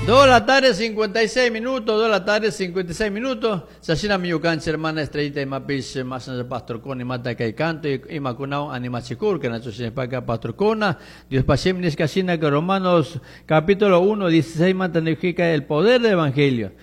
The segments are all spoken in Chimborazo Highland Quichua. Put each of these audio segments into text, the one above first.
2 de la tarde, 56 minutos, 2 de la tarde, 56 minutos. Sasina ñukanchik hermana Estrellita imapish masna pastor kona imata kay canto imakunawan animachikurka nacho shinapaka pastor kona Dios pashim nishkashina que Romanos capítulo 1, 16 manta nijika el poder del evangelio.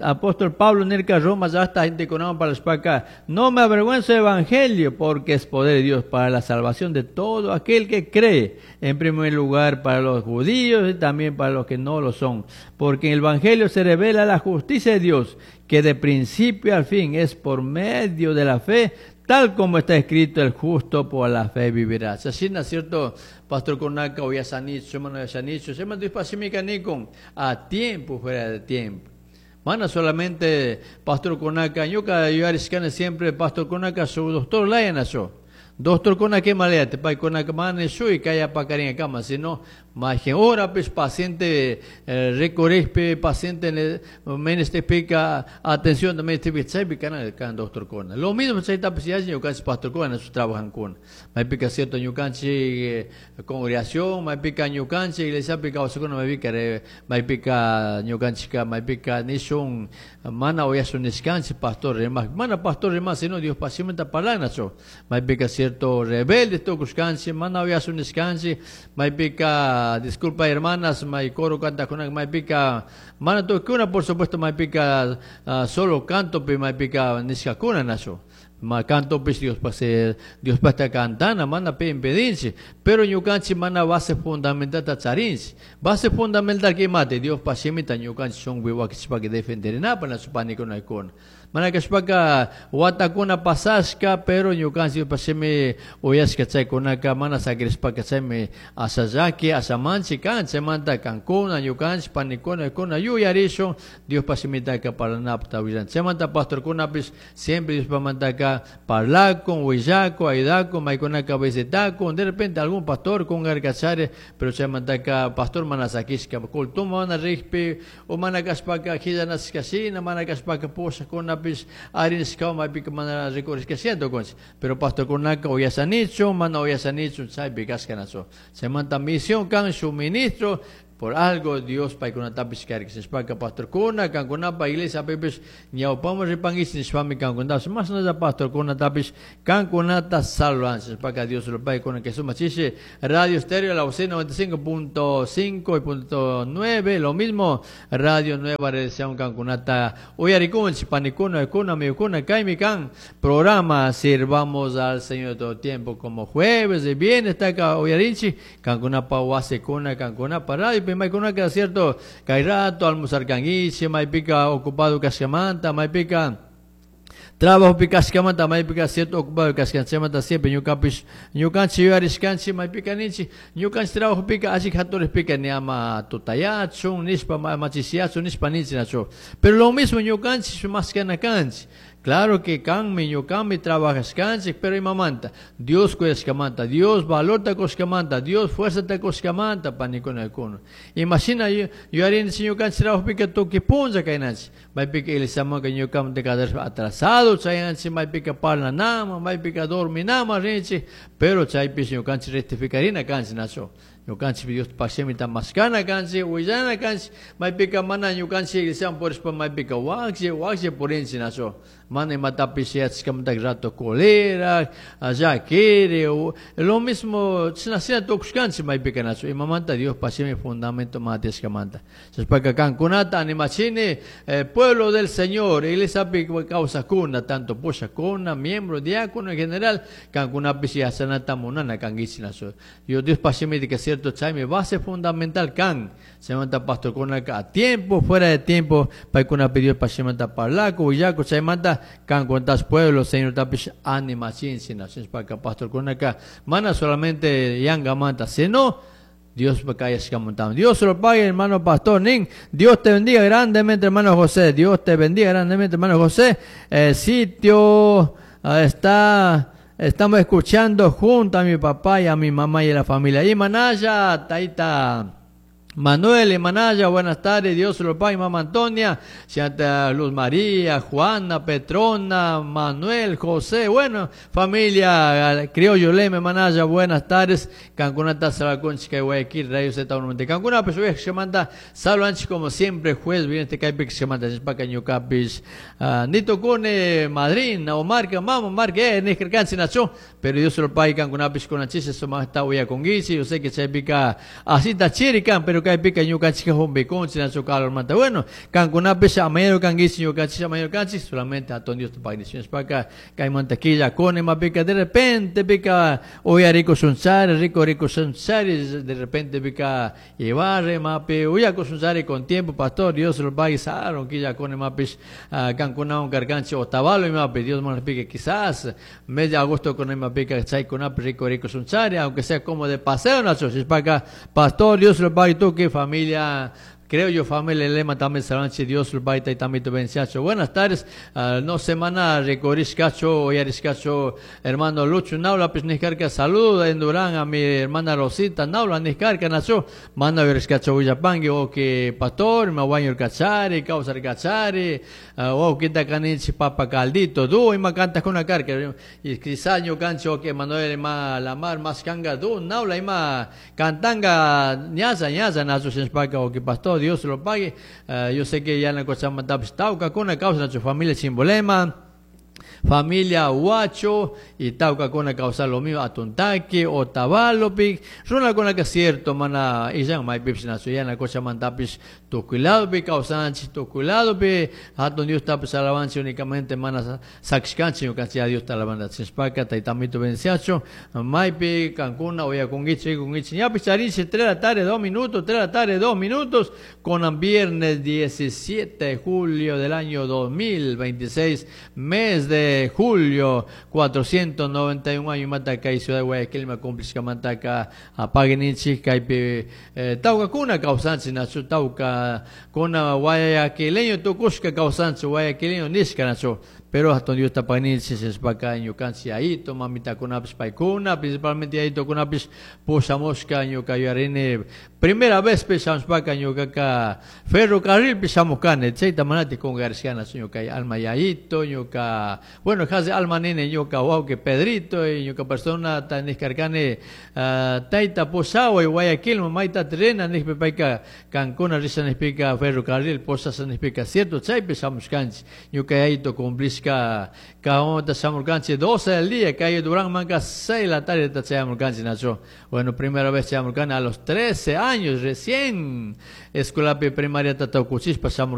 Apóstol Pablo nirka Roma ya está gente con para acá. No me avergüenzo del evangelio porque es poder de Dios para la salvación de todo aquel que cree. En primer lugar para los judíos y también para los que no lo son. Porque en el evangelio se revela la justicia de Dios, que de principio al fin es por medio de la fe, tal como está escrito, el justo por la fe vivirá. Así, ¿no es cierto? Pastor Konaka, uyasanichu, mana uyasanichu, se a tiempo, fuera de tiempo. Mana solamente Pastor Konaka, ñuka yuyarishkani siempre Pastor Konaka su doctor layanachu. Doctor Konaka imalaya, pay Konaka mana shuy kaya pakarin kama, sino más hora pues paciente recorrispe, paciente menestepika atención también este chaypi kana kan doctor Kona. Lo mismo chayta pues ya ñukanchik pastor Kona su trabajan con. Maypika cierto ñukanchik congregación, maypika ñukanchik iglesia pika kawsakuna maypika maypika ñukanchika maypika nishun mana uyasun nishkanchik pastor rimak, mana pastor rimak sino Dios pasimenta parlanachu. Maypika cierto rebelde tukushkanchik, mana uyasun nishkanchik, maypika disculpa hermanas, may coro canta con maypika mana tukuna por supuesto maypika solo canto pi maypika nishkakuna nachu. Ma canto pues Dios pase Dios pasta cantana mana pe impedinchi pero ñukanchik mana base fundamental ta charinchi base fundamental que mate Dios pasimita ñukanchik son wiwakichpa que defenderinapa na su panikuna ikuna mana kashpaka watakuna pasashka pero ñukanchik pasimi uyashka chaykunaka mana sakirishpaka chaymi asallaki asamanchik kan chaymanta kankuna ñukanchik panikuna ikuna yuyarishun Dios pasimitaka parlanapta willan chaymanta pastorkunapis siempre Dios pamantaka parlakun willakun ayudakun maykunaka visitakun de repente algún pastor con garkachare pero chaymantaka pastor mana sakishka kultuma mana rikpi o mana kashpaka qillanashkashina mana kashpaka pushakkunapis arinishkawan maypika mana rikurishkashina tukunchik pero pastorkunaka uyasanichu mana uyasanichu chaypi kashkanachu chaymanta misión kan su ministro por algo Dios paykunatapis karkishpaka pastorkuna kankunapa iglesia pipis ñawpaman ripankichik nishpami kankunatapish mashnalla pastorkunatapis kankunata salvanchik nishpaka Dios lo pague con que suma chishi Radio Estéreo la voz 95.5 y punto nueve, lo mismo Radio Nueva Redención kankunata uyarikunchik panikuna ikuna amigokuna kaymi kan programa Sirvamos al Señor todo tiempo como jueves y viernes está acá uyarinchik kankunapa wasikuna kankunapa radio maykunaka cierto kay rato almorzar kankichik maypika ocupado kashkamanta maypika trabajo kashkamanta maypika cierto ocupado kashkanchimanta siempre ñukapish ñukanchik yuyarishkanchik maypika ninchik ñukanchik trabajo pika alli haturikpika ni ama tutayachun nishpa machisiyachun nishpa ninchik nachu pero lo mismo ñukanchik mashkana kanchik. Claro que kanmi ñukanmi trabajashkanchik pero imamanta Dios kuyashkamanta Dios valorta kushkamanta Dios fuerzata kushkamanta panikuna ikuna imagina yuyarinchik ñukanchik trabajopika tukuy punlla kaynanchik maypika iglesiamanka ñukamanta kadarishpa atrasado chayanchik maypika parlanama maypika dorminama rinchik pero chaypish ñukanchik rectificarina kanchik nachu ñukanchik Dios pashimita mashkana kanchik willana kanchik maypika mana ñukanchik iglesiaman purishpa maypika wakshi wakshi purinchik nachu mana imatapish yachashkamanta rato colera llakiri lo mismo chashna tukushkanchik maypika nachu imamanta Dios pashimi fundamento matishkamanta chashpaka kankunata animachini pueblo del Señor iglesiapi kawsakuna tanto pushakuna miembro diácono en general kankunapish yachanata munana kankichik nachu Dios pashimi que cierto chaymi base fundamental kan chaymanta pastorkunaka a tiempo fuera de tiempo paykunapi Dios pashimanta parlaku willaku chaymanta kankunatash pueblo Señor tapish animachinchik nishpaka pastorkunaka mana solamente yangamanta sino Dios kayashkamanta. Dios lo pague, hermano pastor Nin. Dios te bendiga grandemente, hermano José. Dios te bendiga grandemente, hermano José. Sitio está, estamos escuchando junto a mi papá y a mi mamá y a la familia. Y Manaya, Taita. Manuel y Manaya, buenas tardes, Dios lo pague, mamá Antonia, Santa Luz María, Juana, Petrona, Manuel, José, bueno, familia Criollo Leme, Manaya, buenas tardes, Cancunata, Salaconchi, Guayaquil, Radio Z1, Cancuna, pues, se manda, saludos como siempre, juez, viene este caipe que se manda, Ñucapis, Nito Cune, madrina, Omar, mamá, Omar, que es, Nacho, pero Dios lo pague, Cancunapis, con la chisa, eso más está con Guichi, yo sé que se pica, así está chirican, pero que pica ñukanchik humbikunchik nachu calor manta. Bueno, kankunapish amayero kankichik ñukanchik amayero kanchik solamente hatun Dios tupagnichishpaka kaymanta killa kuni pica de repente pica uyarikushunchari rico rico de repente pica ibarre mapi uyakushunchari con tiempo pastor Dios lo pague saron killa kuni mapish kankunawan karkanchik Otavalo mapi Dios nos pica quizás mes de agosto con pica chaykunapi rico rico aunque sea como de paseo nachu shishpaka pastor Dios lo pague tú que familia. Creo yo, familia Lema también Saranchi, Dios lo baita y también te bendice. Buenas tardes, no semana recorriscacho, oyariscacho, hermano Lucho Naula, pues niscarca, saluda en Durán a mi hermana Rosita Naula, niscarca, nacho, manda veriscacho Villapangui, o que pastor, me guaño el cachari, causa el cachari, o que canichi papa caldito, du, y me canta con una carca, y quizá yo cancho que Manuel ma la mar más canga, du, Naula, y ma cantanga, ñaza, ñaza, nacho, sin o que pastor, Dios lo pague. Yo sé que ya en la Cochabamba está con la causa de su familia sin problema. Familia Huacho y Tauca con la causa lo mío Atuntaqui Otavalo pi runa con la que cierto mana y ya mai pips na suya na cosa mantapis tukulado pi causanchi tukulado pi hatun Dios tapis alabanza únicamente mana saxcanchi canchi a Dios ta alabanda chispaka taitamito venciacho maipi Cancuna oya conguichi conguichi ya picharinche 3 de la tarde 2 minutos 3 de la tarde 2 minutos con viernes 17 de julio del año 2026 mes de julio 491 años mataca y ciudad de Guayaquil me cumple mataca apaguen kaypi tawkakuna kawsanchik nachu tawka kuna guayaquileño tukushka kawsanchik guayaquileño nishka nachu pero hasta Dios tapaninchik shishpaka ñukanchik yayito mamitakunapish paykuna principalmente yayitokunapis pushamushka ñuka yuyarini primera vez pishamushpaka ñukaka ferrocarril pishamukani chayta manati kungarishkana ñuka alma yayito ñuka bueno hace alma nene ñuka wawqi Pedrito y ñuka persona taniskarkani tayta pushawa y Guayaquil mayta trena nishpa payka kankuna risha nishpika ferrocarril posasha nishpika cierto chaypi shamushkanchik ñuka yayito cumplishka kaonta shamurkanchik 12 del día calle Durán manca 6 de la tarde chayamurkanchik nacho. Bueno, primera vez chayamurkani a los 13 años recién escuela primaria tatukuchishpa shamurkani.